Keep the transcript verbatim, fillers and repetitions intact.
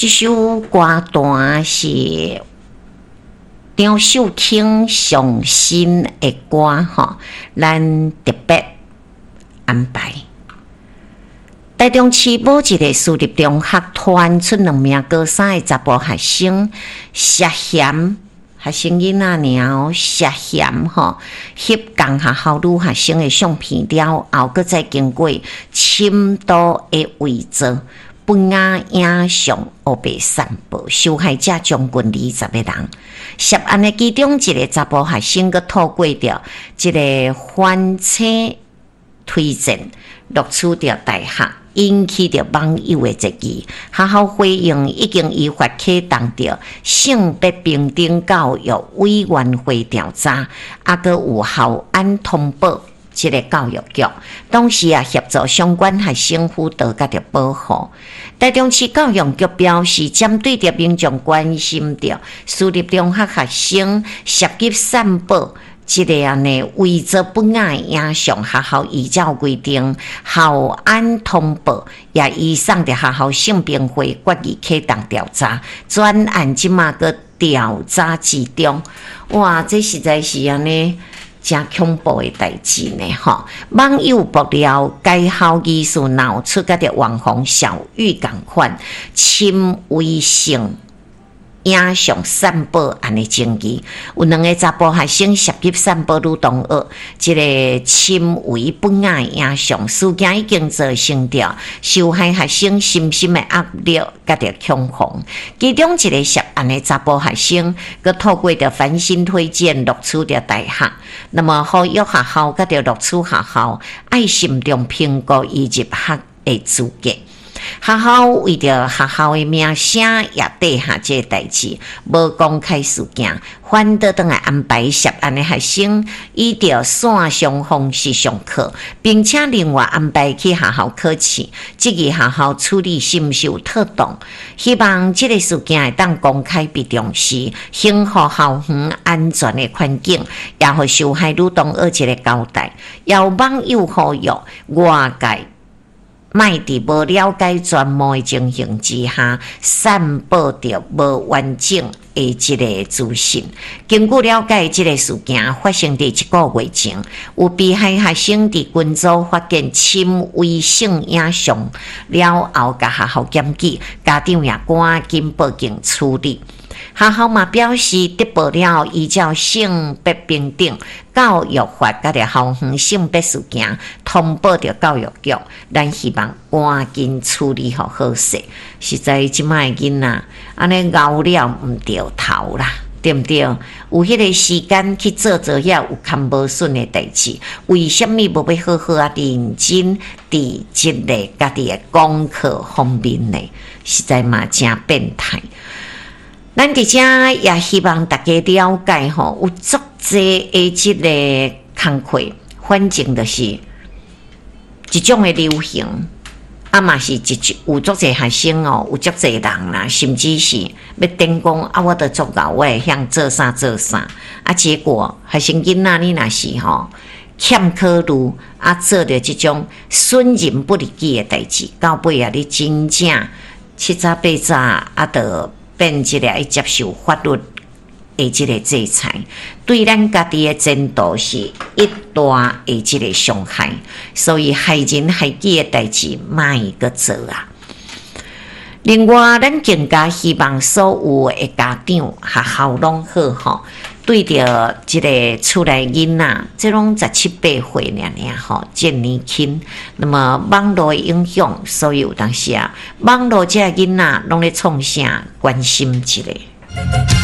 這首歌單是張秀卿上新的歌吼，咱特別安排。台中市某一个私立中學傳出兩名高三的查埔學生涉嫌學生囡仔爾哦，涉嫌吼翕仝學校女學生的相片了後，閣再經過深度的偽造不雅影像，烏白散布，受害者將近二十个人。涉案的其中一个查埔學生，閣透過著這个翻車推薦錄取著大學，引起著網友的質疑。學校回應已經依法啟動著性別平等教育委員會調查，啊，閣有校安通報這个教育局，同時也協助相關學生輔導佮著保護。台中市教育局表示，針對著民眾關心著私立中學學生涉及散布這个按呢偽造不雅影像，學校依照規定校安通報，也移送著學校性平會決議啟動調查，專案這馬閣調查之中。哇，這實在是按呢誠恐怖的代誌呢！吼，網友爆料，該校疑似鬧出佮著網紅小玉仝款深偽性影像散布案的爭議，有兩个查埔學生涉及散布女同學這个深偽不雅影像，事件已經造成著受害學生身心的壓力佮著恐慌。其中一个涉案的查埔學生，閣透過著繁星推薦錄取著大學，那麼呼籲學校佮著錄取學校愛慎重評估伊入學的資格。學校為著學校的名聲，也底下這个代誌，無公開事件，反倒轉來安排涉案的學生以著線上方式上課，並且另外安排去學校考試，質疑學校處理是毋是有妥當？希望這个事件會當公開被重視，維護校園安全的環境，也予受害女同學一個交代。也有網友呼籲外界莫佇無了解全貌的情形之下，散布著無完整的這个資訊。根據了解，這个事件發生佇一個月前，有被害學生佇群組發現深偽性影像了後，共學校檢舉，家長也趕緊報警處理。學校嘛表示，得報了依照性別平等教育法，佮著校園性別事件通報著教育局，咱希望趕緊處理予好勢。實在這擺的囡仔，按呢𠢕了毋著頭啦，對毋對？有彼个時間去做做遐有堪無順的代誌，為啥物無欲好好仔認真佇這个家己的功課方面呢？實在嘛誠變態。咱佇遮也希望大家了解吼，有足濟的這个工課，反正就是一種的流行，啊嘛是一種有足濟學生哦，有足濟人啦，甚至是欲頂講啊，我都足𠢕，我會曉做啥做啥，啊結果學生囡仔你若是吼欠考慮，啊做著這種損人不利己的代誌，到尾啊你真正七早八早啊，著變這个愛接受法律的這个制裁，對咱家己的前途是一大的這个傷害，所以害人害己的代誌莫閣做啊！另外，咱更加希望所有的家長、學校攏好吼，對著這个厝內囡仔，這攏十七八歲爾爾吼，真年輕。那麼網路的影響，所以有當時啊，網路這个囡仔攏咧創啥？關心一下。